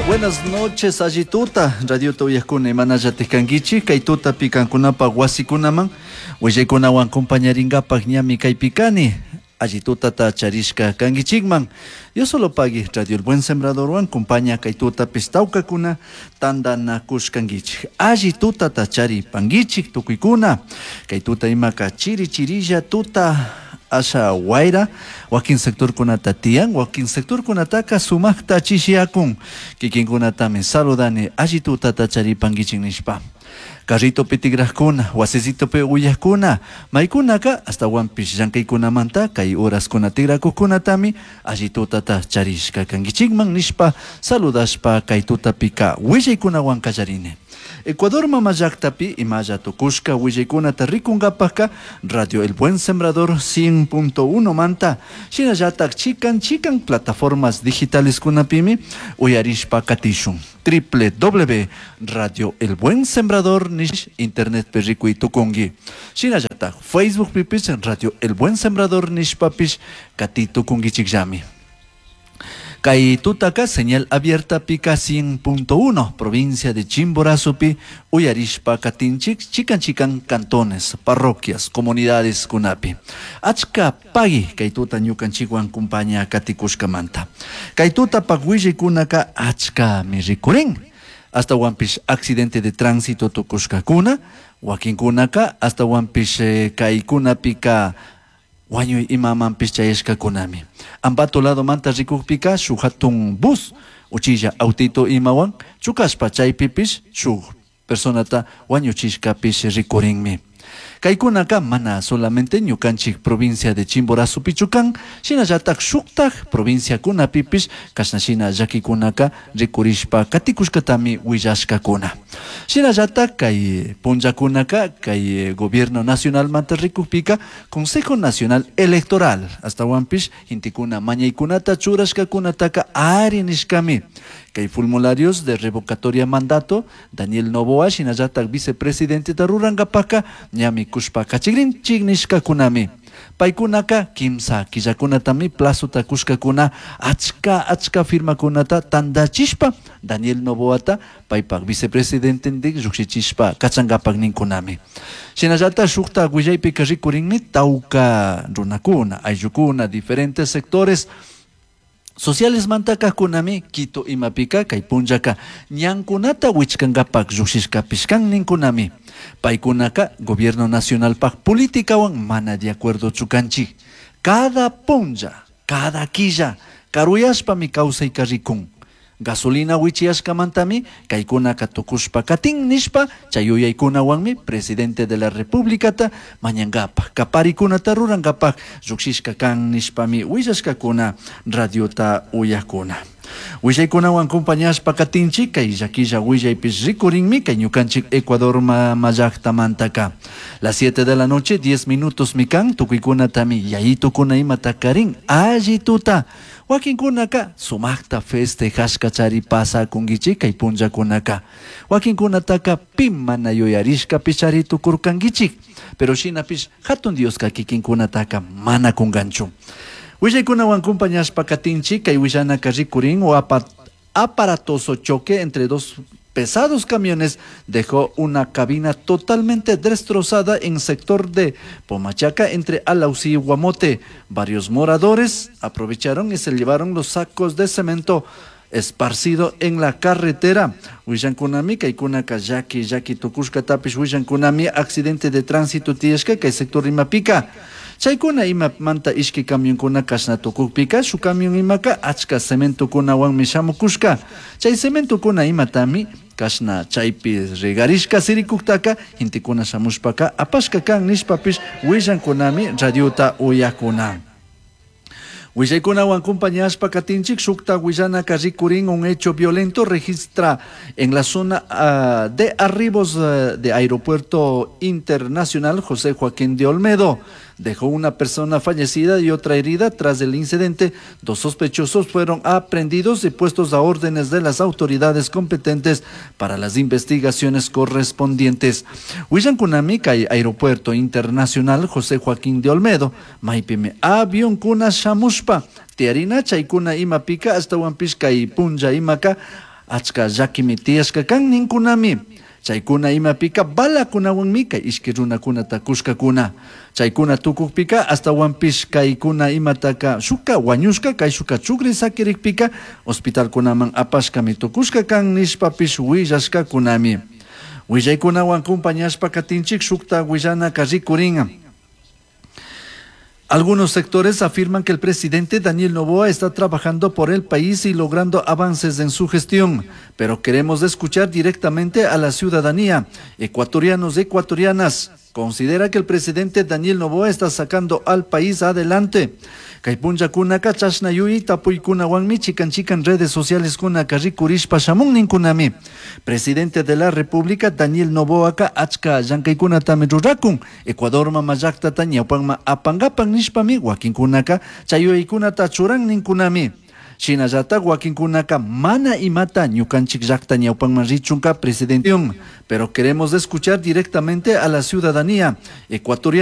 Buenas noches, alli tuta, radiota uyajkuna imanallatik kankichik, kay tutapi kankunapak wasikunaman willaykunawan compañarinkapak ñami kaypi kani, alli tutata charishka kankichikman. Diosolopagui, Radio El Buen Sembradorwan compaña kay tutapis tawkakuna tantanakushkankichik. Alli tutata charipankichik tukuykuna, kay tuta imaka chiri chirilla tuta asha wayra wakin sectorkunata tiyan, wakin sectorkunataka sumakta chishiakun, kikinkunatami saludani alli tutata charipankichik nishpa. Carritopi tigrajkuna, wasisitopi uyajkuna, maykunaka astawanpish llankaykunamanta kay horaskuna tigrakuqkunatami alli tutata charishka kankichikman nishpa saludashpa kay tutapika willaykunawan kallarini. Ecuador mama llaktapi imalla tukushka willaykunata rikunkapakka Radio El Buen Sembrador 100.1 manta shinallatak chikan chikan plataformas digitales kunapimi uyarishpa katishun. Www Radio El Buen Sembrador nish internet pi rikuy tukunki. Shinallatak Facebook pipish Radio El Buen Sembrador nishpapish kati tukunkichikllami. Kay tutaka señal abierta pika 100.1, provincia de Chimborazopi, uyarishpa katinchik, chikan chikan cantones, parroquias, comunidades kunapi. Achka pagui kay tuta ñukanchikwan kumpaña katikushkamanta. Kay tuta pagwillikunaka achka mi rikurin. Hasta wampish accidente de tránsito tukushkakuna, wakinkunaka hasta wampish kaykunapika wañuy imamanpish chayashkakunami. Ambato lado manta rikukpika shuk hatun bus uchilla autito imawan chukashpa chaypipish shuk personata wañuchishkapish rikurinmi. Kaykunaka mana solamente ñukanchik provincia de Chimborazo pichukan, shinallatak shuktak provinciakunapipish kashna shina llakikunaka rikurishpa katikushkatami willashkakuna. Shinallatak kay punllakunaka kay gobierno nacionalmanta rikukpika Consejo Nacional Electoral astawanpish intikuna mañaykunata churashkakunataka ari nishkami. Kay formularios de revocatoria mandato Daniel Noboa shinallatak vicepresidente rurankapaka ñami kushpa kachikrinchik nishkakunami. Paykunaka kimsa killakunatami plazota kushkakuna achka achka firmakunata tantachishpa Daniel Noboata paypak vicepresidentendik llukshichishpa kachankapak ninkunami. Shinallatak shukta willaypika rikurinmi tawka runakuna, ayllukuna, diferentes sectores sociales mantakajkunami Quito imapika kay punllaka ñankunata wichkankapak llukshishkapish kan ninkunami. Paykunaka gobierno nacionalpak politikawan mana de acuerdo chukanchik. Cada punlla, cada quilla, karuyashpami kawsayka rikun. Gasolina wichiyashkamantami kaykunaka tukushpa katin nishpa chay yuyaykunawanmi presidente de la repúblicata mañankapak kaparikunata rurankapak llukshishka kan nishpami willashkakuna radiota uyakuna. Willaykunawan compañashpa katinchik kay llakilla willaypish rikurinmi kay ñukanchik Ecuador mama llaktamantaka. Las 7 de la noche, 10 minutos mikan, tukuykunatami yayitukuna imata karin alli tuta. Wakinkunaka sumakta festejashka chari pasakunkichik kay punllakunaka. Wakinkunataka pi mana yuyarishkapish chari tukurkankichik. Pero shinapish hatun Dioska kikinkunataka mana kunkanchu. Willaykunawan compañashpa katinchik kay willanaka rikurin o aparatoso choque entre dos pesados camiones dejó una cabina totalmente destrozada en sector de Pomachaca entre Alausí y Guamote. Varios moradores aprovecharon y se llevaron los sacos de cemento esparcido en la carretera. Willankunami, kaykunaka llaki, llaki tukushka tapish willankunami, accidente de tránsito tiyashka kay sector Imapica. Chaykuna imamanta ishki camionkuna kashna tukukpika, shu camión imaka achka cementokunawanmi shamukushka. Chay cementokuna imatami kashna chaypi regarishka sirikuktaka, gentekuna shamushpaka apashka kan nishpapish willankunami radiota uyakuna. Willaykunawan compañashpa katinchik shukta willanaka rikurin un hecho violento registra en la zona de arribos de Aeropuerto Internacional José Joaquín de Olmedo. Dejó una persona fallecida y otra herida tras el incidente. Dos sospechosos fueron aprehendidos y puestos a órdenes de las autoridades competentes para las investigaciones correspondientes. Willankunami kay Aeropuerto Internacional José Joaquín de Olmedo, maypimi avionkuna shamushpa, tiarina chaykuna imapika hasta huampishka y punlla imaka, Achka llakimi tiyashka kan ninkunami. Chaykuna imapika balakunawanmi kay ishki runakunata kushkakuna. Chaykuna tukukpika ashtawanpish kaykuna imataka shukka wañushka kayshuka chukri sakirikpika hospitalkunaman apashkami tukushka kan nishpapish willashkakunami. Willaykunawan compañashpa katinchik shukta willanaka rikurin. Algunos sectores afirman que el presidente Daniel Noboa está trabajando por el país y logrando avances en su gestión, pero queremos escuchar directamente a la ciudadanía. Ecuatorianos, ecuatorianas, considera que el presidente Daniel Noboa está sacando al país adelante. Kay punllakunaka chashna yuyay tapuykunawanmi chikan chikan redes sociales kunaka rikurishpa shamun ninkunami. Presidente de la República Daniel Noboaka achka llankaykunatami rurakun. Ecuador mama llaktata ñawpanman apankapak nishpami wakinkunaka chay yuyaykunata churan ninkunami. Shinallatak wakinkunaka mana imata ñukanchik llakta ñawpanman richunka presidente. Pero queremos escuchar directamente a la ciudadanía ecuatoriana.